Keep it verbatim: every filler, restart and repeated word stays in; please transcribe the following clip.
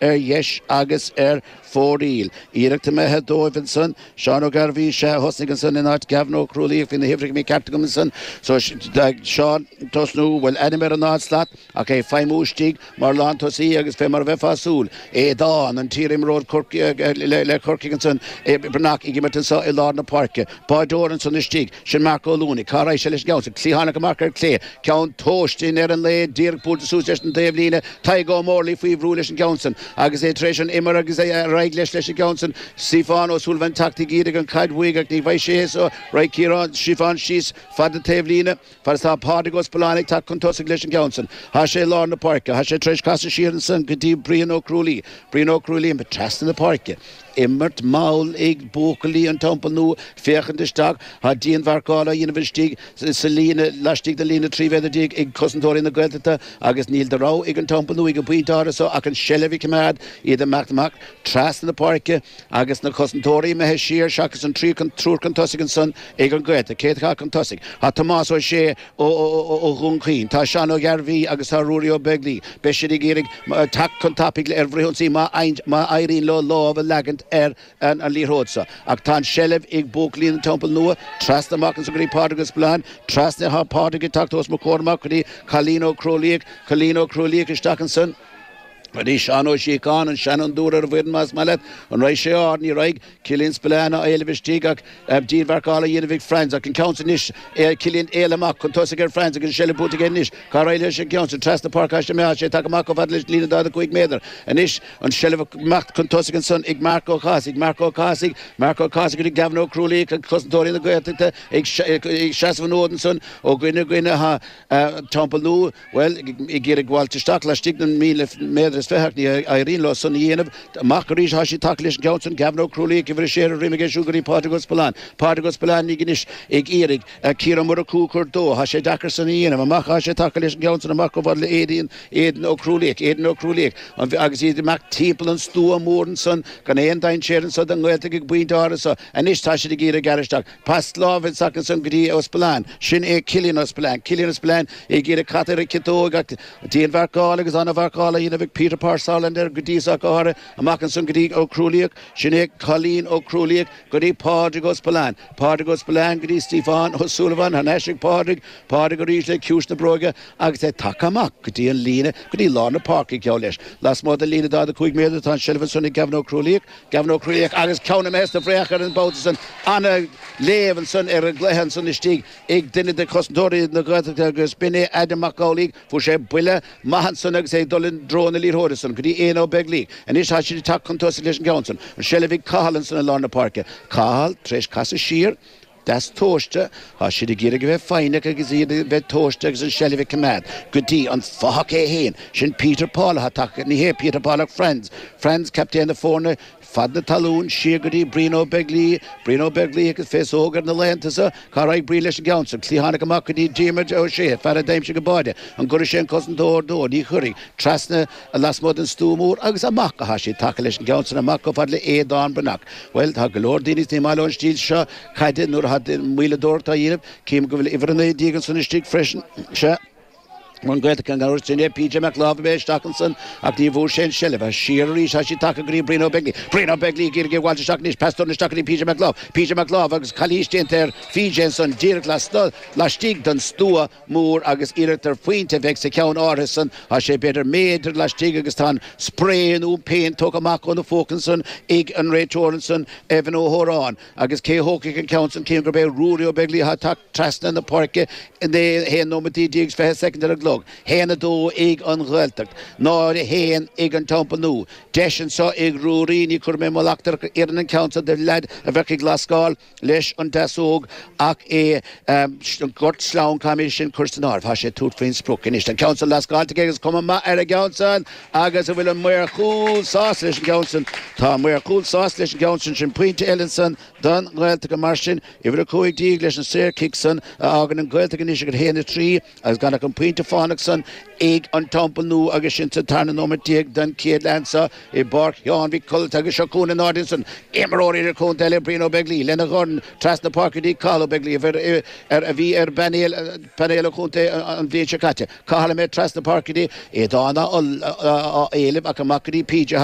ar dheis agus ar fóraoil. Iarracht imithe dóibh ansan, Seán Ó Gairbhí, sea, a thosnaigh ansan in áit Gavin Ó Crualaoich, bhí na huimhreacha mícheart agam ansan. So Seán tosnú, bhfuil ainm ar an ard slat ach é feidhmiú istigh mar lántosaí agus fé mar a bheifeá ag súil, Aodán, an t-iarimreoir le Corcaigh ansan, Breathnach ag imirt anso i lár na páirce. Báideoir ansan istigh, sin Marc Ó Luanaigh. Cá raghaidh sé leis an gceann san? Cliathánach amach ar clé, ceann tomhaiste in ar an lae, díreach buailte suas leis an dtaobhlíne, Tadhg Ó Mórlaigh faoi bhrú leis an gceann san agus é tar éis an imir agus é ar aghaidh leis leis an gceann san. Stiofán Ó Súilleabháin teacht ag iarraidh an chaid uaidh ach ní bhfaighidh sé é so raghaidh Ciarán Stiofán síos fad na taobhlíne fad is tá Pádraig Ó Spealáin ag teacht chun tosaigh leis an gceann san. Tá sé i lár na páirce. Tá sé tar éis casadh siar ansan go dtí Brian Ó Crualaoich. Brian Ó Crualaoich trasna na páirce. Imirt mall ag buachaillí an Teampaill Nua féachaint isteach. Tá dianmharcáil á dhéanamh istigh sa líne laistigh den líne trí mhéadar déag ag cosantóirí na Gaeltachta agus níl de rogha ag an Teampall Nua ag an bpointe áirithe so ach an tseilbh a choimeád, iad ag imeacht amach trasna na páirce agus na cosantóirí imithe siar seachas an triúr chun tosaigh ansan ag an Ghaeltacht. Cé atá chun tosaigh? Tá Tomás Ó Sé ó Dhún Chaoin, tá Seán Ó Gairbhí agus tá Ruairí Ó Beaglaoich. Beidh siad ag iarraidh teacht chun tapaidh ar fhrithionsaí má éiríonn leo lámh a leagaint ar an liathróid so. Ach tá an tseilbh ag buachaillí an Teampaill Nua, trasna amach ansan go dtí Pádraig Ó Spealáin, trasna tá Pádraig ag teacht os mo chomhair amach go dtí Cailín Ó Crualaoich, Cailín Ó Crualaoich isteach ansan go dtí Seán Ó Síocháin, an seanfhondúir ar an bhfoireann más maith leat. An raghaidh sé ard? Ní raghaidh. Cillian Spillane á éileamh istigh ach dianmharcáil á dhéanamh ag Franz ach an ceann san anois, Cillian éalaithe amach chun tosaigh ar Franz agus an seilbh buaite aige anois. Cá raghaidh leis an gceann san? Trasna páirce tá sé imithe, tá sé tagtha amach chomh fada leis an líne daichead a cúig méadar. Anois an seilbh ag imeacht chun tosaigh ansan ag Marc Ó Cathasaigh, Marc Ó Cathasaigh, Marc Ó Cathasaigh go dtí Gavin Ó Crualaoich ag cosantóirí na Gaeltachta ag seasamh an fhóid ansan ó dhuine go dhuine. Tá Teampall Nua, bhuel, ag iarraidh gabháilt isteach laistigh den míle méadar is fiche ach ní éiríonn leo san a dhéanamh. Amach arís atá siad tagtha leis an gceann san, Gavin Ó Crualaoich, uimhir a sé ar a dhroim aige siúd go dtí Pádraig Ó Spealáin. Pádraig Ó Spealáin ag anois ag iarraidh Ciarán Ó Murchú a chur dó. Tá sé deacair san a dhéanamh. Amach atá sé tagtha leis an gceann san amach chomh fada le Aidan, Aidan Ó Crualaoich, Aidan Ó Crualaoich, agus iad ag imeacht timpeall an stua mór ansan gan aon dainséar anso don nGaeltacht ag an bpointe áirithe so. Anois tá siad ag iarraidh gearradh isteach. Pas láimhe isteach ansan go dtí Ó Spealáin. Sin é Cillian Ó Spealáin. Cillian Ó Spealáin ag iarraidh cat ar an chiotóg ach dianmharcáil agus an-mharcáil á dhéanamh ag Peter Parr-Sutherland air go dtí so ach go háirithe. Amach ansan go dtí Ó Crualaoich. Sin é Cailín Ó Crualaoich go dtí Pádraig Ó Spealáin. Pádraig Ó Spealáin go dtí Stiofán Ó Súilleabháin. Thar n-ais ag Pádraig. Pádraig arís le ciumhais na bróige agus é tagtha amach go dtí an líne, go dtí lár na páirce geall leis. Lasmuigh den líne daichead a cúig méadar tá an tseilbh ansan ag Gavin Ó Crualaoich. Gavin Ó Crualaoich agus ceann imithe sna fraoch ar an mbabhta san. Ana-léamh ansan ar an gcluiche ansan istigh ag duine de chosantóirí na Gaeltachta agus b'in é Adam Mac Amhlaigh. Fuair sé buille maith ansan agus é ag dul i dtreo na liathróide san go dtí Éanna Ó Beaglaoich. Anois tá siad ag teacht chun tosaigh leis an gceann san. An tseilbh ag Cathal ansan i lár na páirce. Cathal tar éis casadh siar. Deas tomhaiste, tá siad ag iarraidh a bheith foighneach agus iad a bheith tomhaiste agus an tseilbh a choimeád go dtí an fathach é féin, sin Peter Paul atá tagtha, ní hé Peter Paul ach Franz, Franz captaen na foirne, fad na talún, siar go dtí Brian Ó Beaglaoich, Brian Ó Beaglaoich agus féasóg air na laethanta seo, cá raghaidh Brian leis an gceann san, cliathánach amach go dtí Diarmuid Ó Sé, fear a d'aimsigh an báide, an gcuirfidh sé an cosantóir dó, ní chuirfidh, trasna lasmuigh den stua mór agus amach atá siad tagtha leis an gceann san amach chomh fada le Aodán Breathnach. Bhuel, tá go leor daoine is ní maith leo an stíl seo caide nuair atá moilleadóireacht á dhéanamh. Cím go bhfuil uimhir a naoi déag ansan istigh freisin. Sea. An Ghaeltacht an uair sin é PJ Mac Láimh a bheidh isteach ansan ach ní bhfuair sé an tseilbh. Siar arís tá siad tagtha go dtí Brian Ó Beaglaoich. Brian Ó Beaglaoich ag iarraidh é a bhaint isteach anois. Pas dorn isteach go dtí PJ Mac Láimh. PJ Mac Láimh agus calaois déanta ar PJ ansan díreach laistigh den stua mór agus iarracht ar phointe a bheidh sa cheann áirithe san. Tá sé b'fhéidir méadar laistigh agus tá an spré nó an péint tógtha amach óna phóca ansan ag an réiteoir ansan, Evan Ó hÓráin. Agus cé a thógfaidh an ceann san? Cím gurb é Ruairí Ó Beaglaoich atá ag teacht trasna na páirce naoi haon nóimeataí déag is fiche soicind ar an gclog. Haon a dó ag an Ghaeltacht, náid a haon ag an Teampall Nua. Deis anso ag Ruairí, ní chuirfidh mé mo leacht ar oireann an ceann san do leaid a bheadh ag lascáil. leis an deasóg ach é an gort sleamhain, caithfimid é sin cur san áireamh. Tá sé ag tabhairt faoin sprioc anois. Tá an ceann san lascáilte aige agus cuma maith ar an gceann san agus an bhfuil an maor cúil sásta leis an gceann san? Tá an maor cúil sásta leis an gceann san. Sin pointe eile ansan don nGaeltacht mar sin uimhir a cúig déag leis an saor chic san a fhágann an Ghaeltacht anois ag a haon a trí agus gan ach an pointe fána tiománacht san ag an Teampall Nua agus sin sa tarna nóiméad déag den chéad leath anseo i bPáirc Sheáin Mhic Codhailt agus seo chugainn in airde ansan imreoir idirchontae eile Brian Ó Beaglaoich lena dhorn trasna páirce go dtí Cathal Ó Beaglaoich a bhí ar bpainéal painéal an chontae an bhliain seo caite. Cathal imithe trasna páirce go dtí Aodán á éileamh ach amach go dtí PJ